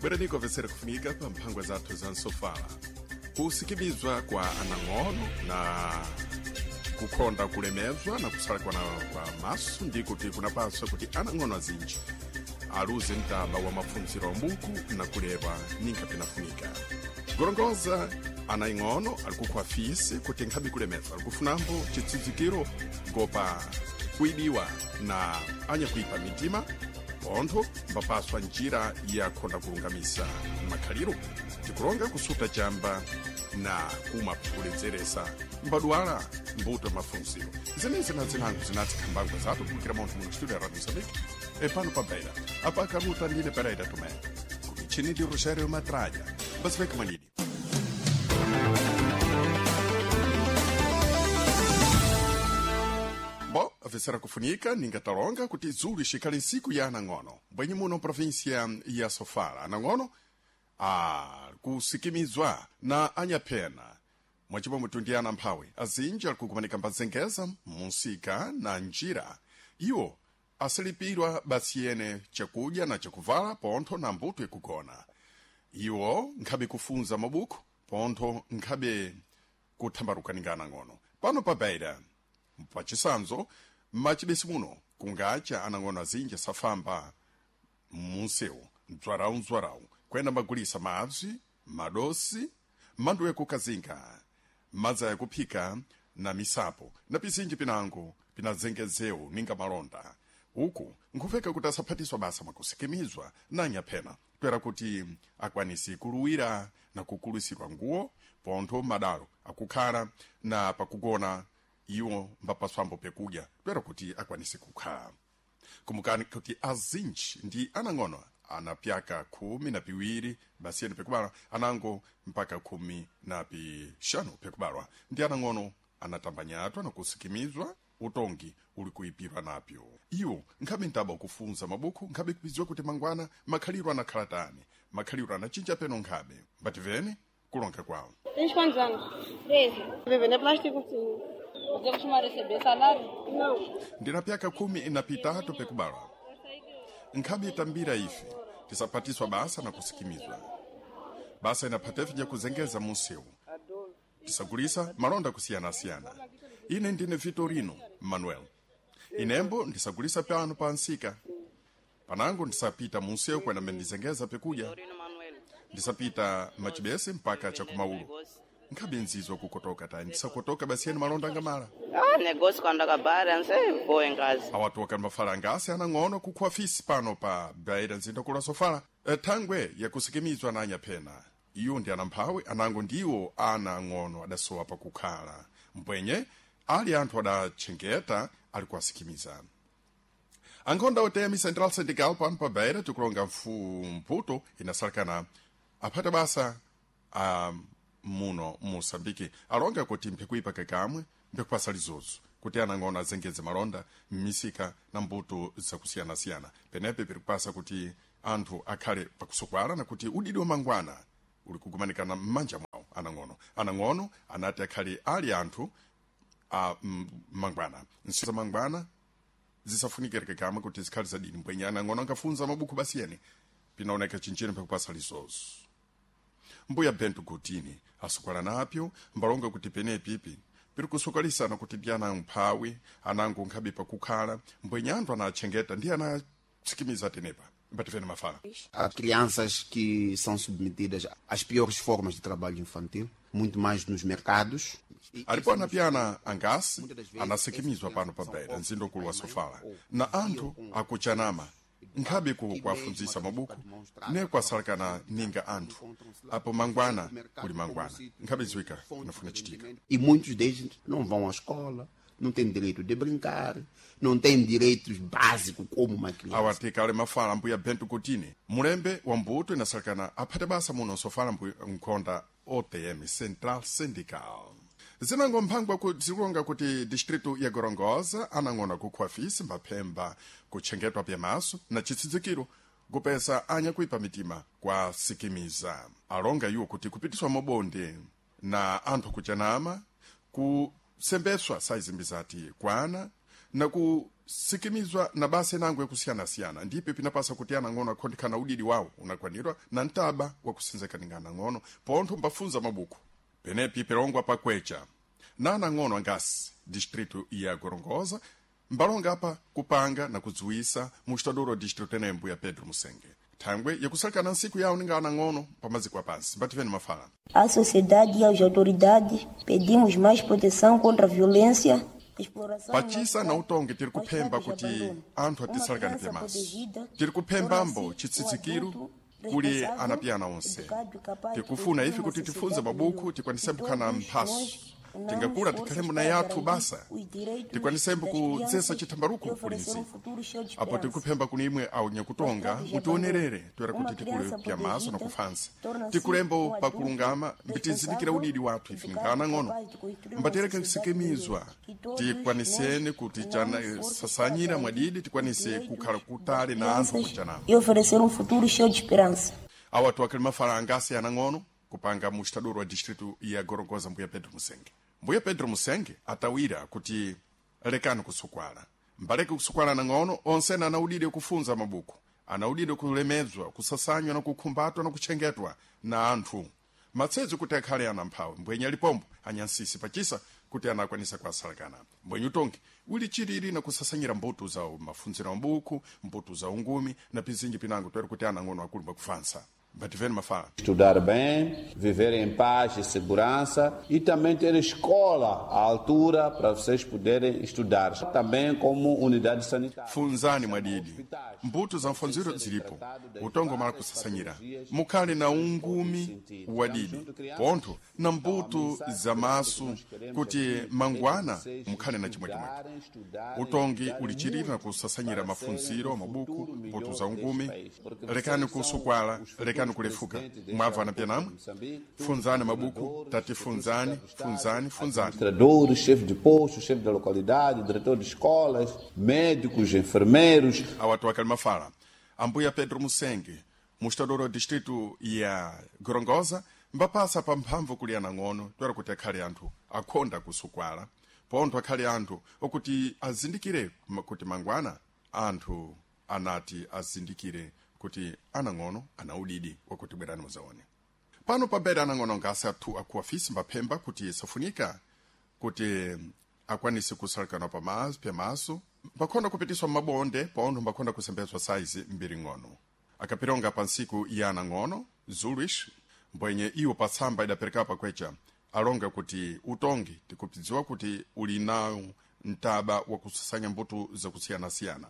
Bwerani vesera kufunika pa mphangwa zathu za nsofala kusikimizwa kwa anang'ono na kukhonda kulemezwa na kusalakwana kwa maso ndi kuti kunapaswa kuti anang'ono azinji aluze mtaba wa maphunziro ambuku na kulewa ninga pinafunika gorongoza ana ing'ono ali kukhwa fisi kuti nkhabe kulemezwa ali kufunambo chitsidzikiro ngopa kuibiwa na anyakuipa mitima pontho mbapaswa njira ya khonda kulungamisa makhaliro tikulonga kusuta chamba na kumwa kuledzeresa mbadwala mbuto mafunziro zenezi na zinango zinati khambangwa zathu kulikira munthu muno studio ya radio mozambique epano pa beira apa kaluta ndine pereira tomé kumichini ndi rogério matralha basiveka manidi. Bom, a kufunika ningatalonga kuti zulu ixikali nsiku ya anang'ono bwenye muno província ya sofala anang'ono akusikimizwa na anyaphena mwacipomwe ndi ana mphawi azinji ali kukumanika mbazengeza munsika na njira iwo asilipirwa basiyene chakudya na chakuvala pontho na mbuto ikugona iwo nkhabe kufunza mabuku pontho nkhabe kuthambaruka anang'ono pano pa beira pachisanzo machibesi muno kungacha anang'ono azinji asafamba munsewu mdzwarawu kwenda magulisa madzi madosi mandu yakukazinga madzi ayakuphika na misapo na pizinji pinango pinazengezewu ninga malonda uku nkhufeka kuti asaphatiswa basa mwakusikimizwa na nyaphena twera kuti akwanisi kuluwira na kukulusidwa nguwo pontho madalo akukhala na pakugona iwo mbapaswambo pekudya twera kuti akwanise kukhala kumukani kuti azinji ndi anang'ono anapyaka khumi na piwiri basiyeni pekubalwa anango mpaka khumi na pixanu pekubalwa ndi anang'ono anatambanyatwa na kusikimizwa utongi uli kuipirwa napyo iwo nkhabe ntaba kufunza mabuku nkhabe kupiziwa kuti mangwana makhaliro anakhala tani makhaliro anachinja peno nkhabe mbativene kulonga kwawo. Tens quantos anos? 13. Viver é plástico, sim. Você costuma receber salário? Não. Ndina pyaka khumi na pitatu pekubalwa nkhabe itambira ife tisapatiswa basa na kusikimizwa basa inaphatefe ja kuzengeza munsewu tisagulisa malonda kusiyanasiyana ine ndine vitorino manuel inembo ndisagulisa pano pa nsika panango ndisapita munsewu kwena mendizengeza pekudya ndisapita machibese mpaka chakumaulu nkhabe nzizwa kukotoka tayi ndisakotoka basiyeni malonda angamala. Ah, negócio quando acabar, não sei, vou em casa. Awatoka mafala angasi anang'ono kukhwa fisi pano pa beira nzinda kula sofala thangwe yakusikimizwa na anyaphena iwo ndi anamphawi anango ndiwo ana ang'ono adasowa pakukhala mbwenye ali anthu adatchengeta ali kuwasikimiza ankhonda otemi central syndical pano pa beira tikulonga mputo inasalekana aphata basa a muno moçambique alonga kuti mphikuipa kakamwe mphikupasa lizozo kuti anang'ono azengeze malonda m'misika na mbuto zakusiyanasiyana penepe pirikupasa kuti anthu akhale pakusokwala na kuti udidi wa mangwana uli kugumanikana m'manja mwawo anang'ono anang'ono anati akhale ali anthu a mangwana nsiku za mangwana zisafunikireke kamwe kuti zikhale zadini mbwenye anang'ono angafunza mabuku basiyeni pinaoneka chinchini pakupasa lizozo mbuya bento gutini asukwala napyo mbalonga kuti penepipi piri kusokalisana kuti ndi ana mphawi anango nkhabe pakukhala mbwenye anthu anatchengeta ndi anatsikimiza tenepa mbativene mafala. Há crianças que são submetidas às piores formas de trabalho infantil, muito mais nos mercados. Alipo anapyana angasi anasikimizwa pano pa beira mzindokulu wa sofala na anthu akuchanama nkhabe ku kuafunzisa mabuku ne kwasalakana ninga anthu apo mangwana kuli mangwana nkhabe ziwika kunafuna chitika. E muitos deles não vão à escola, não têm direito de brincar, não têm direitos básicos como uma criança. Awatikale mafala mbuya bento kutini mulembe wa mbuto inasalakana aphate basa muno sofala mkhonda otm central syndical zinango mphangwa zikulonga kuti distritu ya gorongosa anang'ona kukhwa fisi mbaphemba kutchengetwa pyamaso na chitsidzikiro kupesa anyakuipa mitima kwa sikimiza alonga iwo kuti kupitiswa mabonde na anthu kuchanama kusembeswa saizimbi zati kwana. na kusikimizwa na basa inango yakusiyanasiyana ndipo pinapasa kuti anang'ono akhondikhana udidi wawo unakwanirwa na mtaba wakusenzekaninga anang'ono pontho mbafunza mabuku penepi pirongwa pakwecha na anang'ono angasi distrito ya gorongosa mbalonga apa kupanga na kudziwisa mustadoro wa distrito enembo ya Pedro Musenge thangwe yakusalekana nsiku yawo ninga anang'ono pamaziko apansi mbativeni mafala. À sociedade e às autoridades pedimos mais proteção contra a violência. Exploração pachisa na utongi tiri kuphemba kuti anthu atisalekane pemaso tiri kuphembambo chitsitsikiro kuli anapiyana onse tikufuna ife kuti tifunze mabuku tikwanisembo kukhala mphaso tingakula tikhalembo na yathu basa tikwanisembo kudzesa chithambaluko kuli ntsiku apo tikuphemba kuni imwe awu nyakutonga mutionerere toera kuti tikule pyamaso na kufansa tikulembo pakulungama mbitizindikira udidi wathu ife ninga ng'ono mbatereka kusikimizwa tikwaniseni kuti sasanyira mwadidi tikwanise kukhala kutali na anthu kuchanamo e oferecer futuro cheio de esperança. Awa tuwakhali mafala angasi anang'ono kupanga mustadoro wa distrito ya Gorongosa mbuya Pedro Musenge. Mbuya Pedro Musenge atawira kuti lekani kusukwala mbaleke kusukwala nang'ono onsena anaudide kufunza mabuku anaudide kulemedzwa kusasanywa na kukhumbatwa na kutchengetwa na anthu matsedzo kuti akhale ana mphawi mbwenye alipombo anyansisi pachisa kuti anakwanisa kuasalakana mbwenye utongi uli chilili na kusasanyira mbuto za mafunziro mabuku mbuto za ungumi na pizinji pinango toera kuti anang'ono akulu mbakufansa Bativeni mafala. Estudar bem, viver em paz e segurança e também ter escola à altura para vocês poderem estudar. Também como unidade sanitária. Funzani mwadidi. Mbuto za mfanziro zilipo. Utongo mala kusasanyira. Mukhale na ungumi wadidi. Pontho na mbuto za maso kuti mangwana mukhale na chimwechimwecho. Utongi ulichirira na kusasanyira mafunziro, mabuku, mbuto za ungumi. Lekani kusukwala, lekani kulefuka mwabva na pyanamwe funzani mabuku tati funzani funzani funzani. Administradores, chefe de posto, chefe da localidade, diretor de escolas, médicos, enfermeiros. Awatu akali mafala ambuya Pedro Musenge mustadoro wa distrito ya Gorongosa mbapasa pa mphamvu kuli anang'ono toera kuti akhale anthu akhonda kusukwala pontho akhale anthu okuti azindikire kuti mangwana anthu anati azindikire kuti anang'ono ana udidi wakuti bwerani muzaone pano pabera anang'ono ngasi athu akuafisi mbaphemba kuti safunika kuti akwanise kusalekana pyamaso mbakhonda kupitiswa mabonde pontho mbakhonda kusembedzwa saizi mbiri ng'ono akapironga pa ntsiku ya anang'ono zuluish mbwenye iwo patsamba idapereka pakwecha alonga kuti utongi tikupidziwa kuti uli nawo mtaba wakusasanya mbuto zakusiyanasiyana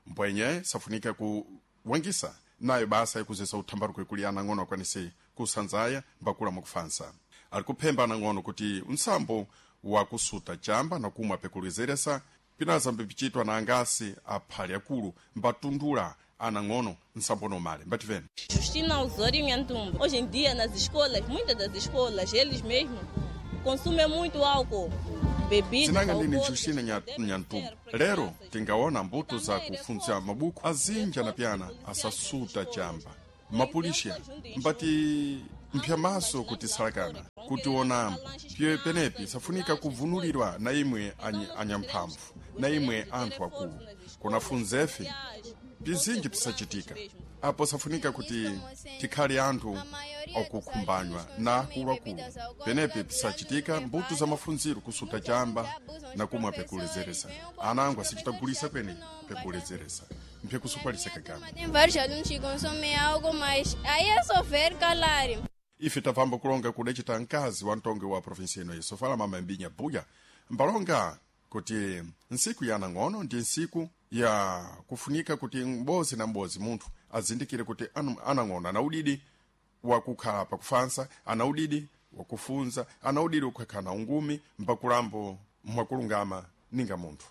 mbwenye safunika kuwangisa nayo basa yakuzesa uthambaruko ikuli anang'ono akwanise kusanzaya mbakula mwakufansa ali kuphemba anang'ono kuti msambo wakusuta chamba na kumwa pekulezeresa pinazambe pichitwa na angasi aphali akulu mbatundula anang'ono nsambo nomale mbativene. Justina Osório Nhantumbo. Hoje em dia nas escolas, muitas das escolas, eles mesmos consumem muito álcool. Zinanga ndini Justina Nyantumbo. Lero tingaona mbuto za kufunza mabuku azinja na pyana asasuta chamba mapulisha mbati mphyamaso kuti salakana kuti onambo pye penepi safunika kuvunulirwa na imwe anyamphamvu na imwe anthu akulu kunafunzefe pizinji pisachitika apo safunika kuti tikhale anthu okukhumbanywa na akuluakulu penepi pisachitika mbuto za mafunziro kusuta chamba na kumwa pekulezeresa ana angu asichitagulisa kwene pekulezeresa mphekusupalisa kagama. Tem vários alunos que consomem álcool, mas aí é só ver calar. Ife tapamba kulonga kudacita mkazi wa mtongi wa provinsi ino yesofala mama Mbinya Buya mbalonga kuti ntsiku ya anang'ono ndi ntsiku ya kufunika kuti m'bozi na m'bozi munthu azindikire kuti anang'ono ana udidi wakukhala pakufansa ana udidi wakufunza ana udidi wakukhala na ungumi mbakulambo mwakulungama ninga munthu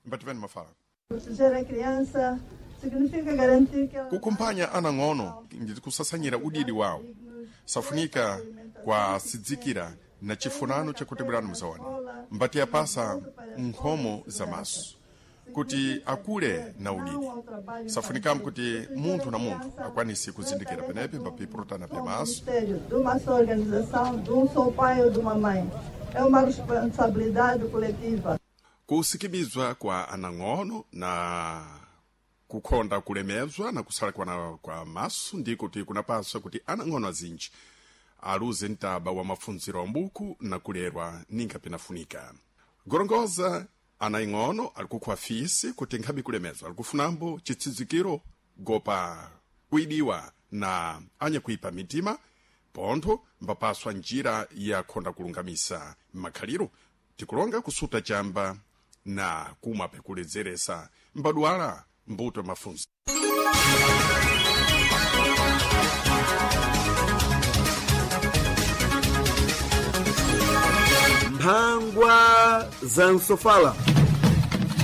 mbativeni mafala. Proteger a criança significa garantir que ela Kukumphanya anang'ono ndi kusasanyira udidi wawo safunika kwasidzikira na chifunano chakuti bwerani muzaone mbati apasa nkhomo za maso kuti akule na udidi safunikamo kuti munthu na munthu akwanise kuzindikira penepe mbapipurutana pya maso. Ministério de uma só organização, de só pai ou de uma mãe. É uma responsabilidade coletiva. Kusikimizwa kwa anang'ono na kukhonda kulemezwa na kusala kwa, kwa maso ndiko kuti kunapaswa kuti anang'ono azinji aluze mtaba wa mafunziro ambuku na kulerwa ninga pinafunika. Gorongoza ana ing'ono alikukhwa fisi kuti nkhabe kulemezwa alikufunambo chitsidzikiro gopa kuidiwa na anyakuipa mitima pontho mbapaswa njira ya khonda kulungamisa makhaliro tikulonga kusuta chamba na kumwa pekuledzeresa mbadwala mbuto mafunzo. Mphangwa za msofala.